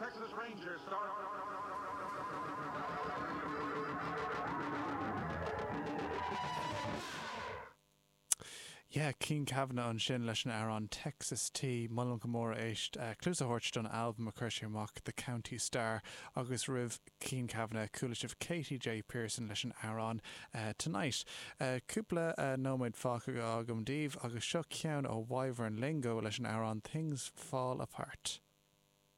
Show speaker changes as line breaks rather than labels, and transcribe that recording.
Texas Rangers start.
Yeah, Cian Kavanagh ansin leis an amhrán Texas Tea. Molaim go mór éist, cluas a thabhairt don albam a chuir sé amach, The County Star, agus roimh Cian Kavanagh chuala sibh Katie J Pearson leis an amhrán Tonight. Cúpla nóiméad fágtha agam daoibh agus seo ceann ó Wyvern Lingo leis an amhrán Things Fall Apart.